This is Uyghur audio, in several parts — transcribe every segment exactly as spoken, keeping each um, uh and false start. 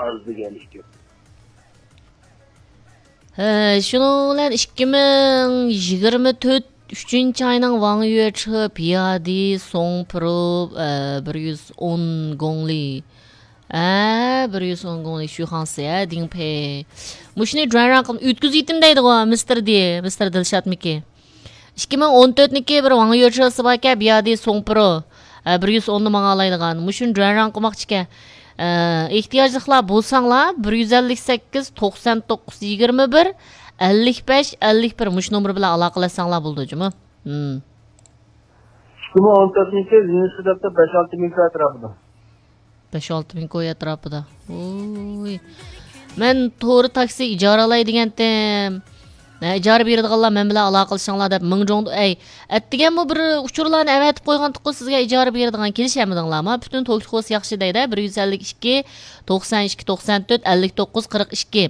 ئاز دېگەن ئىكەن. ھە، شۇنىڭ بىلەن ئىككى مىڭ يىگىرمە تۆت ئۈچىنچى ئاينىڭ ۋاڭ يۈەچې بىيادى سوڭ پرو، ئە، بىر يۈز ئون گوڭلى. ئە، بىر يۈز ئون گوڭلى شۈخاڭسى، ئە، دىڭپې. مۇشۇنى جۇەنران قىلىپ ئۆتكۈزۈۋېتىم دەيدىغۇ، مىستېر دى، مىستېر دىلشاتمىكى. ئىككى مىڭ ئون تۆتنىڭكى بىر ۋاڭ يۈەچېسى باركەن، بىيادى سوڭ پرو. ئە، بىر يۈز ئوندا ماڭالايدىغان. مۇشۇنى جۇەنران قىلماقچىكەن. ئە، ئېھتىياجلىقلار بولساڭلار، بىر يۈز ئەللىك سەككىز، توقسان توققۇز، يىگىرمە بىر، ئەللىك بەش، ئەللىك بىر مۇشۇ نومۇر بىلەن ئالاقىلەشسەڭلار بولىدۇ، جۇمۇ. ھىم. ئىككى مىڭ ئون تۆتىنچى يىل يېڭىسى دەپتۇ، بەش ئالتە مىڭ كوي ئەتراپىدا. بەش ئالتە مىڭ كوي ئەتراپىدا. ۋوي. مەن تورى تاكسى ئىجارە ئالاي دېگەنتىم. ھە، ئىجارە بېرىدىغانلار مەن بىلەن ئالاقىلىشىڭلار دەپ مىڭجوڭدا، ئەي، ئەتىگەنمۇ بىر ئۇچۇرلارنى ئەۋەتىپ قويغانتىققۇ سىزگە ئىجارە بېرىدىغان، كېلىشەلمىدىڭلارما؟ پۈتۈن توكتىخوس ياخشى دەيدۇ، بىر يۈز ئەللىك ئىككى، توقسان ئىككى، توقسان تۆت، ئەللىك توققۇز، قىرىق ئىككى.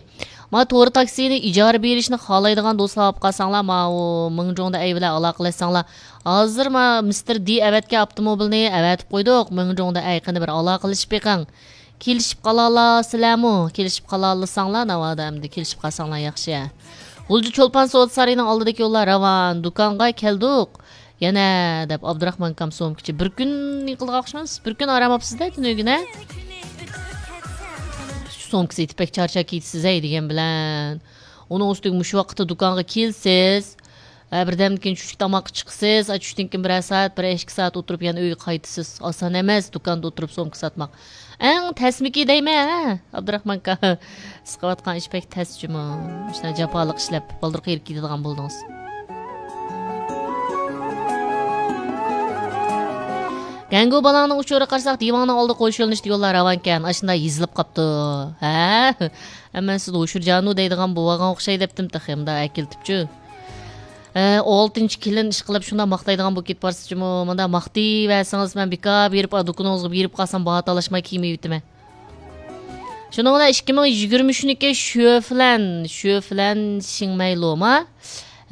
ما تورى تاكسىنى ئىجارە بېرىشنى خالايدىغان دوستلار بولۇپ قالساڭلار، ماۋۇ مىڭجوڭدا ئەي بىلەن ئالاقىلەشسەڭلار. ھازىر ما مىستېر دى ئەۋەتكەن ئاپتوموبىلنى ئەۋەتىپ قويدۇق. مىڭجوڭدا ئەي، قېنى بىر ئالاقىلىشىپ بېقىڭ. كېلىشىپ قالالاسىلەرمۇ؟ كېلىشىپ قالالىساڭلار، ناۋادا ئەمدى كېلىشىپ قالساڭلار ياخشى. غۇلجا چولپان سودا سارىيىنىڭ ئالدىدىكى يوللار راۋان، دۇكانغا كەلدۇق. يەنە دەپ ئابدۇراخمان ئاكام سومكىچى بىر كۈن يىقىلغان ئوخشىمامسىز؟ بىر كۈن ئارام ئاپسىز-دە تۈنۈگۈنە. سومكا سېتىپ بەك چارچاپ كېتىسىز-ھەي دېگەن بىلەن. ئۇنىڭ ئۈستىگە مۇشۇ ۋاقىتتا دۇكانغا كېلىسىز. ھە، بىردەمدىن كېيىن چۈشلۈك تاماققا چىقىسىز. ھە، چۈشتىن كېيىن بىرەر سائەت، بىر ئىككى سائەت ئولتۇرۇپ يەنە ئۆيگە قايتىسىز. ئاسان ئەمەس دۇكاندا ئولتۇرۇپ سومكا ساتماق. ئەڭ تەسمىكى دەيمەن، ھە، ئابدۇراخمان ئاكا. سىقىۋاتقان ئىش بەك تەس جۇمۇ. مۇشۇنداق جاپالىق ئىشلەپ، بالدۇر قېرىپ كېتىدىغان بولدىڭىز. گەڭگۇ بالاڭنىڭ ئۇچۇرىغا قارىساق، دىۋاڭنىڭ ئالدىغا قويۇشۇۋېلىنىشتا يوللار راۋانكەن. ئاشۇنداق يېزىلىپ قاپتۇ. ھە؟ ئەمما سىز ھوشۇرجانۇ دەيدىغان بوۋاغاڭ ئوخشاي دەپتىم تېخى، مۇنداق ئەكېلتىپچۇ. ھە، ئالتىنچى كېلىن ئىشقىلىپ شۇنداق ماختايدىغان بولۇپ كېتىپ بارسىزچۇمۇ؟ مۇنداق ماختىيىۋەرسىڭىز، مەن بىكار بېرىپ، دۇكىنىڭىزغا بېرىپ قالسام، باھا تالاشماي كىيىم يېۋىتىمەن. شۇنىڭ بىلەن ئىككى مىڭ يىگىرمە ئۈچنىڭكى شۆفلەن، شۆفلەن شىڭمەيلۇما؟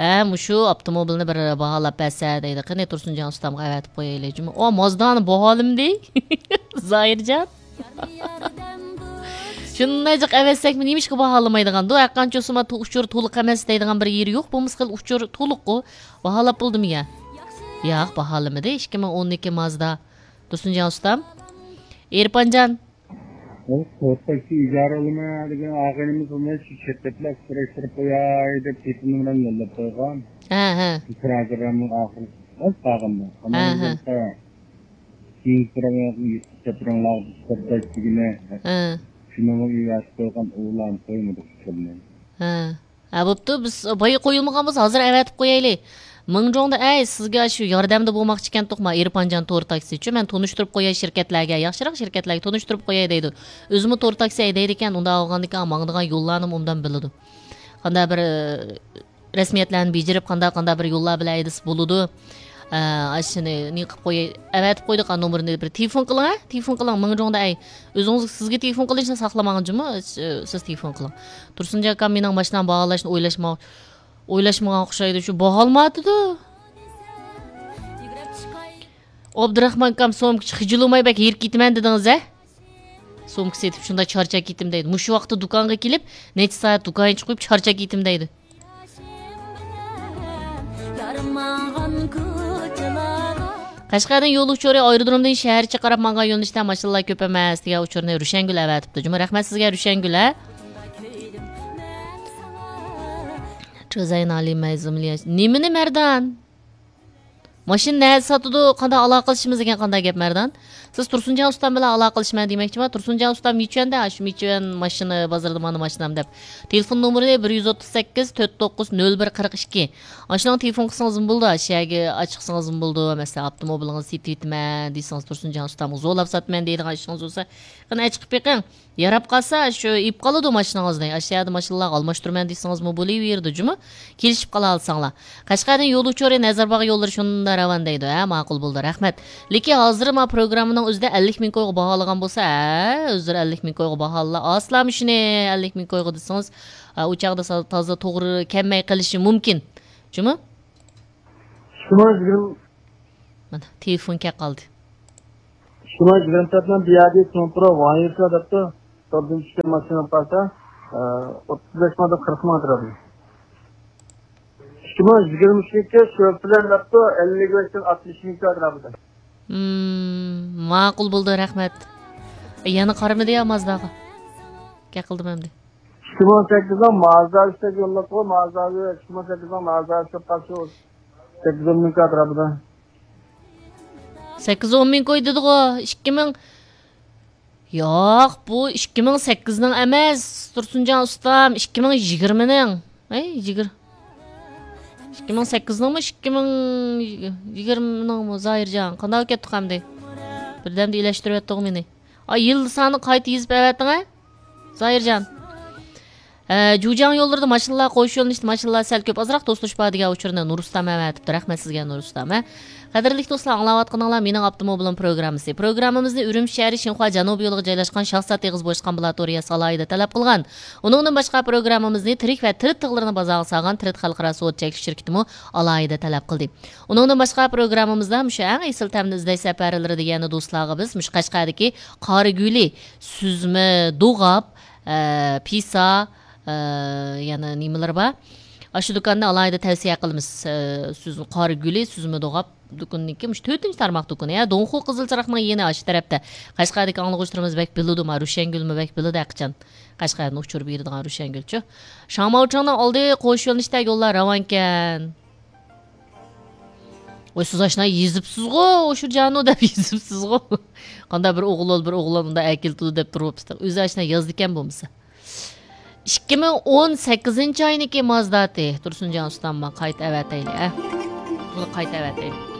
ھە، مۇشۇ ئاپتوموبىلنى بىر باھالاپ بەرسە دەيدۇ. قېنى، تۇرسۇنجان ئۇستامغا ئەۋەتىپ قويايلى جۇمۇ. ئا، مازدانى باھالىمىدى؟ زاھىرجان. شۇنداق جىق ئەۋەتسەكمۇ نېمىشقا باھالىمايدىغاندۇ؟ ھەرقانچە بولسىمۇ تو-، ئۇچۇر تولۇق ئەمەس دەيدىغان بىر يېرى يوق. بولمىسا خېلى ئۇچۇر تولۇققۇ. باھالاپ بولدىمۇ يا؟ ياق، باھالىمىدى. ئىككى مىڭ ئونىكى مازدا. تۇرسۇنجان ئۇستام. ئېرپانجان. ئۇ قورقۇشنى ئىجارە ئالىمەن دېگەن ئاغىنىمىز ئۇنى شۇ چەتلەپلەپ سۈرەشتۈرۈپ قوياي دەپ تېلېفون نومۇرىنى يوللاپ قويغان. ھە، ھە. شۇ تىراژىرلارنىڭ ئاخىرى ئاز قالغاندا. ھە، ھە. كېيىنكى تۇرۇڭلارغا يېتىپ چاپىرىڭلارغا چىقىپ دېگىنە. ھە. شۇنىڭغا ئېۋەتىپ قويغان ئۇلارنى قويمىدۇق ئۇچۇرنى. ھە. ھە، بوپتۇ، بىز بايا قويۇلمىغان بولسا، ھازىر ئەۋەتىپ قويايلى. مىڭجوڭدا، ئەي، سىزگە شۇ ياردەمدە بولماقچى ئىكەنتۇق، ما، ئېرپانجان تور تاكسىچۇ، مەن تونۇشتۇرۇپ قوياي شىركەتلەرگە، ياخشىراق شىركەتلەرگە تونۇشتۇرۇپ قوياي دەيدۇ. ئۆزىمۇ تور تاكسى ھەيدەيدىكەن، ئۇنداق بولغاندىكىن ماڭىدىغان يوللارنىمۇ ئوبدان بىلىدۇ. قانداق بىر، ئە، رەسمىيەتلەرنى بېجىرىپ، قانداق، قانداق بىر يوللار بىلەن ھەيدىسە بولىدۇ. ئە، ئاشۇنى نېمە قىلىپ قوياي، ئەۋەتىپ قويدۇق، ئا، نومۇرىنى بىر تېلېفون قىلىڭ، ھە؟ تېلېفون قىلىڭ، مىڭجوڭدا، ئەي. ئۆزىڭىز، سىزگە تېلېفون قىلىشنى ساقلىماڭ جۇمۇ، سىز تېلېفون قىلىڭ. تۇرسۇنجان ئاكام مېنىڭ ماشىنام باھالاشنى ئويلاشما-، ئويلاشمىغان ئوخشايدۇ، شۇ باھالىمايدۇ. ئابدۇراخمان ئاكام سومكىچى خىجىللىماي بەك ھېرىپ كېتىمەن دېدىڭىز ھە؟ سومكا سېتىپ شۇنداق چارچاپ كېتىم دەيدۇ. مۇشۇ ۋاقىتتا دۇكانغا كېلىپ، نەچچە سائەت دۇكان ئېچىپ قويۇپ چارچاپ كېتىم دەيدۇ. قەشقەردىن يول ئۇچۇرى ئايرودرومدىن شەھەرچە قاراپ ماڭغان يۆنىلىشتە ماشىنىلار كۆپ ئەمەس دېگەن ئۇچۇرنى رۇشەنگۈل ئەۋەتىپتۇ. جۇمۇ رەھمەت سىزگە رۇشەنگۈل ھە. نېمىنى مەردان؟ ماشىنا نەدە ساتىدۇ، قانداق ئالاقىلىشىمىز دېگەن قانداق گەپ مەردان؟ سىز تۇرسۇنجان ئۇستام بىلەن ئالاقىلىشىمەن دېمەكچىما؟ تۇرسۇنجان ئۇستام مىچۈەندە، ئاشۇ مىچۈەن ماشىنا بازىرىدا مانا ماشىنام دەپ. تېلېفون نومۇرى بىر يۈز ئوتتۇز سەككىز، تۆت توققۇز، نۆل بىر، قىرىق ئىككى. ئاشۇنىڭغا تېلېفون قىلسىڭىزمۇ بولىدۇ، ئاشۇ يەرگە ئاچىقسىڭىزمۇ بولىدۇ. مەسىلەن، ئاپتوموبىلىڭىزنى سېتىۋېتىمەن دېسىڭىز، تۇرسۇنجان ئۇستامغا زورلاپ ساتىمەن دەيدىغان ئىشىڭىز بولسا، قېنى ئەچىقىپ بېقىڭ. ياراپ قالسا، شۇ ئېلىپ قالىدۇ ماشىنىڭىزنى. ئاشۇ يەردە ماشىنىلارغا ئالماشتۇرىمەن دېسىڭىزمۇ بولۇۋېرىدۇ جۇمۇ. كېلىشىپ قالالىساڭلار. قەشقەردىن يول ئۇچۇرى نەزەرباغ يوللىرى شۇنداق راۋان دەيدۇ. ھە، ماقۇل بولدى، رەھمەت. لېكىن ھازىر ما پروگراممىنىڭ ئۆزىدە ئەللىك مىڭ كويغا باھالىغان بولسا، ھە، ئۆزلىرى ئەللىك مىڭ كويغا باھالىلا. ئاسلامۇ شۇنى ئەللىك مىڭ كويغا دېسىڭىز، ھە، ئۇ چاغدا سا-، تازا توغرا كەلمەي قېلىشى مۇمكىن. جۇمۇ؟ شۇنىڭ يىگىرمە مانا، تېلېفون كەپ قالدى. شۇنىڭ يىگىرمە تۆتنىڭ بىيادى سوڭ تۇرۇپ، ۋايىسا دەپتۇ. توردىن چۈشكەن ماشىنا بولسا، ئوتتۇز بەش مىڭدىن قىرىق مىڭ ئەتراپىدا. ئىككى مىڭ يىگىرمە ئۈچىنچى شۇ بىلەن دەپتۇ، ئەللىك بەشتىن ئاتمىش مىڭ ئەتراپىدا. مم، ماقۇل بولدى، رەھمەت. يەنە قارىمىدى يا مازداغا؟ گەپ قىلدىم ئەمدى. ئىككى مىڭ سەككىزنىڭ مازدا ئۈچتەك يوللىدىغۇ، مازدا ئىككى مىڭ سەككىزنىڭ مازدا ئۈچتەك قالسا، سەككىز ئون مىڭ ئەتراپىدا. سەككىز ئون مىڭ كوي دېدىغۇ، ئىككى مىڭ. ياق، بۇ ئىككى مىڭ سەككىزنىڭ ئەمەس، تۇرسۇنجان ئۇستام، ئىككى مىڭ يىگىرمىنىڭ. ھەي، يىگىر-، ئىككى مىڭ سەككىزنىڭمۇ، ئىككى مىڭ يىگىرمىنىڭمۇ، زاھىرجان؟ قانداق كەتتۇق ئەمدى؟ بىردەمدە ئىلەشتۈرۈۋەتتىغۇ مېنى. ئا، يىل سانى قايتا يېزىپ ئەۋەتتىڭ ھە؟ زاھىرجان. ئە، جۇجياڭ يوللىرىدا ماشىنىلار، قوش يۆنىلىشتە ماشىنىلار سەل كۆپ، ئازراق توسۇلۇش بار دېگەن ئۇچۇرنى نۇرۇستام ئەۋەتىپتۇ. رەھمەت سىزگە، نۇرستام. ھە، قەدىرلىك دوستلار، ئاڭلاۋاتقىنىڭلار مېنىڭ ئاپتوموبىلىم پروگراممىسى. پروگراممىمىزنى ئۈرۈمچى شەھىرى شىنخۇا جەنۇبىي يولىغا جايلاشقان شاھزات ئېغىز بوشقان ئامبۇلاتورىيەسى ئالاھىدە تەلەپ قىلغان. ئۇنىڭدىن باشقا، پروگراممىمىزنى تىرىك ۋە تىرىت تىغلىرىنى بازارغا سالغان تىرىت خەلقئارا سودا چەكلىك شىركىتىمۇ ئالاھىدە تەلەپ قىلدى. ئۇنىڭدىن باشقا، پروگراممىمىزدا مۇشۇ ئەڭ ئېسىل تەمنى ئىزدەش سەپەرلىرى دېگەندە دوستلارغا بىز مۇشۇ قەشقەردىكى قارىگۈلى سۈزمە دوغاپ، ئە، پىسا، ئە، يەنە نېمىلىرى بار؟ ئاشۇ دۇكاننى ئالاھىدە تەۋسىيە قىلىمىز. ئە، سۈزمە، قارىگۈلى سۈزمە دوغاپ دۇكىنىنىڭكى مۇشۇ تۆتىنچى تارماق دۇكىنى. ھە، دونخۇ قىزىل چىراغنىڭ يېنى ئاشۇ تەرەپتە. قەشقەردىكى ئاڭلىغۇچىلىرىمىز بەك بىلىدۇ، ما، روشەنگۈلمۇ بەك بىلىدۇ ھەقىچان. قەشقەردىن ئۇچۇر بېرىدىغان روشەنگۈلچۇ. شاڭماۋچىڭنىڭ ئالدى قوش يۆنىلىشتە يوللار راۋانكەن. ۋاي، سىز ئاشۇنداق يېزىپسىزغۇ، ئوشۇرجانۇ دەپ يېزىپسىزغۇ. قانداق بىر ئوغۇل بول، بىر ئوغلان ئۇنداق ئەكېلىپتۇ دەپ تۇرۇپسىز. ئۆزى ئاشۇنداق يازدىكەن بولمىسا. ئىككى مىڭ ئون سەككىزىنچى ئاينىڭكى مازداتى. تۇرسۇنجان ئۇستام، قايتا ئەۋەتەيلى، ئە. بۇنى قايتا ئەۋەتەيلى.